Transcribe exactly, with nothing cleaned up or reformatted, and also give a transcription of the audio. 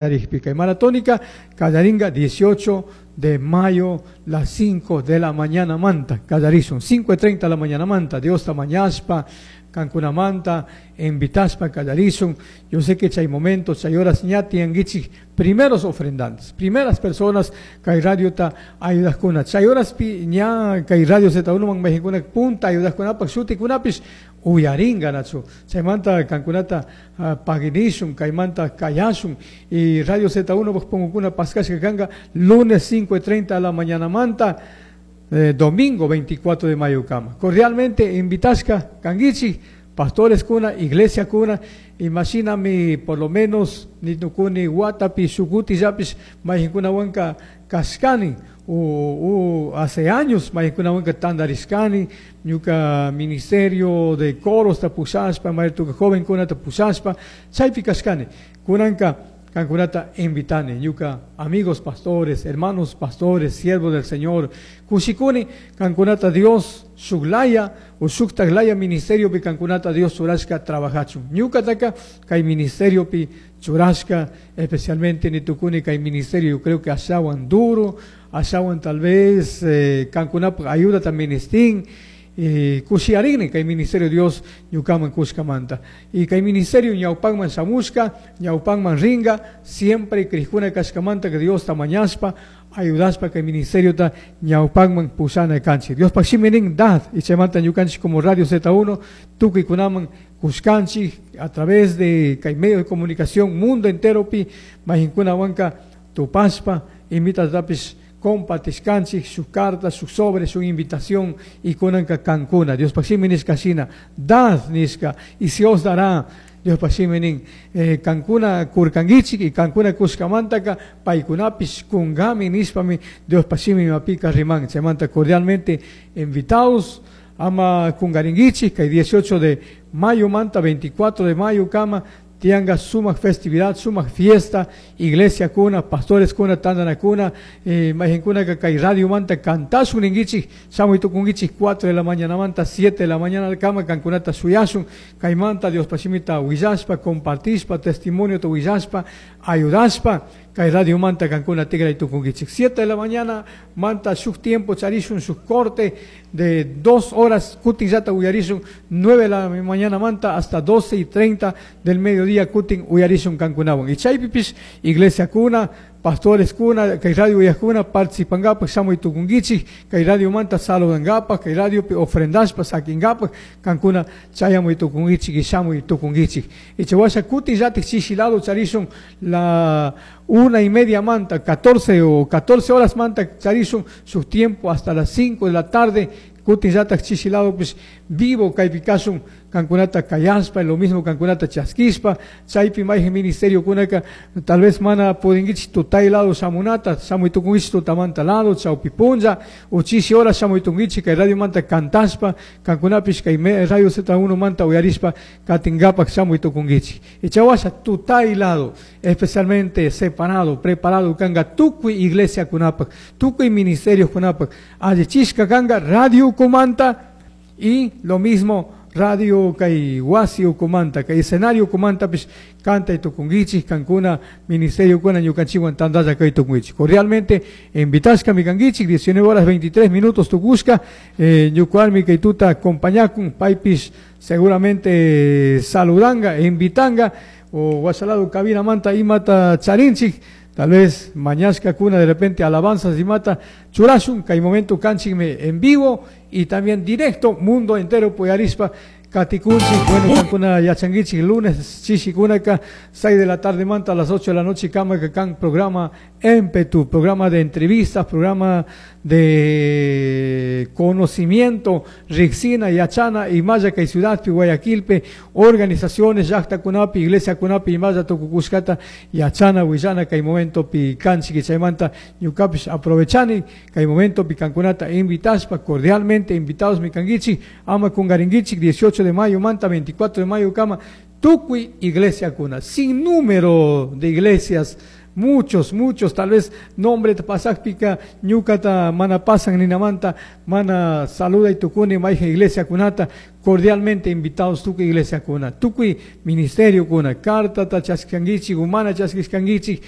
Kay maratónica kallaringa dieciocho de mayo, las cinco de la mañana manta, kallarishun, cinco y treinta de la mañana manta. Diosta mañashpa, kankunamanta, invitashpa kallarishun. Yo sé que hay momentos, hay horas ña tiyanguichik primeros ofrendantes, primeras personas kay radiota ayudajkuna. Chay horaspi ña kay Radio Z uno man mayqankuna punta ayudajkunapak shutikunapish uyaringa, nachu. Chaymanta kankunata uh, paginishun, kaymanta kayashun y Radio Z uno pungukuna paskashka kanga lunes cinco y treinta de la mañana manta, eh, domingo veinticuatro de mayo kama. Cordialmente invitashka kanguichik, pastores kuna, iglesia kuna. Imagíname, por lo menos nitukuni watapi shuk kutillapish mayqankunawanka kashkani o, o hace años mayqankunawanka tandarishkani ñuka ministerio de coros ta pushashpa, maytuka jovenkunata pushashpa chaypi kashkani. Kunanka kankunata invitani, ñuka amigos pastores, hermanos pastores, siervos del Señor. Kushikuni kankunata Dios shuklaya o shuktaklaya ministerio pi kankunata Dios churashka trabajachun. Ñukataka kay ministerio pi churashka, especialmente nitukuni kay ministerio, yo creo que ashawan duro, ashawan tal vez eh, kankunapaj ayuda ministin y kushiyarini kay ministerio Dios ñukaman kushkamanta. Y kay ministerio ñawpakman shamushka, ñawpakman ringa, siempre krikuna kashkamanta que Diosta mañashpa, ayudashpa kay ministerio ta ñawpakman pushana kanchik. Diospaj shimi nin dad y chaymanta ñukanchik como Radio Z uno tukuykunaman kushkanchik a través de kay medio de comunicación mundo entero pi mayqankunawanka tupashpa invitatapish compartishkanchik su carta, su sobre, su invitación y kunanka kankuna. Diospaj shimi nishka shina, dad nishka, y se os dará. Diospaj shimi nin, eh, kankuna kurkanguichik y kankuna kushkamantaka paykunapish kungami nishpami Diospaj shimi mapika riman. Chaymanta cordialmente invitados, ama kungaringuichik, kay dieciocho de mayo manta, veinticuatro de mayo kama, tianga sumak festividad, sumak fiesta, iglesia kuna, pastores kuna, tandanakuna, eh, mayqankuna kay radio manta kantashun ninguichik, shamuy tukunguichik cuatro de la mañana manta, siete de la mañana kama kankunata shuyashun, kaymanta Diospaj shimita willashpa, compartishpa, testimonio willashpa, ayudashpa, kay radio manta kankuna tigray tukunguichik. siete de la mañana manta shuk tiempo charishun shuk corte de dos horas kutin llata uyarishun, nueve de la mañana manta hasta doce y treinta del mediodía kutin uyarishun kankunawan. Y chaypipish iglesia kuna, pastores kuna, kay radio uyajkuna participangapak shamuy tukunguichik, kay radio manta saludangapak, kay radio pi ofrendashpa sakingapak, kankuna chayamuy tukunguichik y shamuy tukunguichik. Y chawasha kutin llatik chishi lado charishun la una y media manta, catorce o catorce horas manta charishun su tiempo hasta las cinco de la tarde, kutin llatak chishi lado pues vivo kaypi kashun kankunata kayashpa, lo mismo kankunata chaskishpa. Chaypi mayqan ministerio kunaka tal vez mana pudinguichik tutay lado shamunata, shamuy tukunguichik tutamanta lado, chawpi punlla o chishi hora shamuy tukunguichik kay radio manta kantashpa, kankunapish kay Radio Z uno manta uyarishpa katingapak shamuy tukunguichik. Y chawasha tutay lado, especialmente separado, preparado kanga tukuy iglesia kunapak, tukuy ministerio kunapak, allichishka kanga radio kumanta y lo mismo radio kay wasi ukumanta, kay escenario ukumanta pish kantay tukunguichik, kankuna ministerio kuna ñukanchikwan tantalla kay tukunguichik. Cordialmente invitashka mi kanguichik, diecinueve horas veintitrés minutos tukushka, eh, ñukuarmi kay tuta acompañakun, paypish seguramente saludanga e invitanga o wasalado cabina manta imata charinchik, tal vez mañashka kuna de repente alabanzas imata churashun, kay momento kanchikmi en vivo y también directo, mundo entero uyarishpa katikunchik. Bueno, kankuna yachanguichik, lunes chishikunaka seis de la tarde manta a las ocho de la noche kama kan programa Empetu, programa de entrevistas, programa de conocimiento, riksina, yachana, imalla kay ciudad Guayaquilpi, organizaciones, llaktakunapi, iglesia kunapi, imalla tukukushkata, yachana, willana, kay momento pi kanchik. Chaymanta ñukapish aprovechani, kay momento pi kankunata invitashpa, cordialmente invitados mi kanguichik, ama kungaringuichik, dieciocho de mayo manta, veinticuatro de mayo kama, tukuy iglesia kuna, sin número de iglesias, Muchos, muchos, tal vez nombre pasakpika ñukata mana pasan ninamanta mana saluday tukuni mayjan iglesia kunata cordialmente invitados tukuy iglesia kuna, tukuy ministerio kuna, cartata chaskiskankichik, mana chaskiskankichik.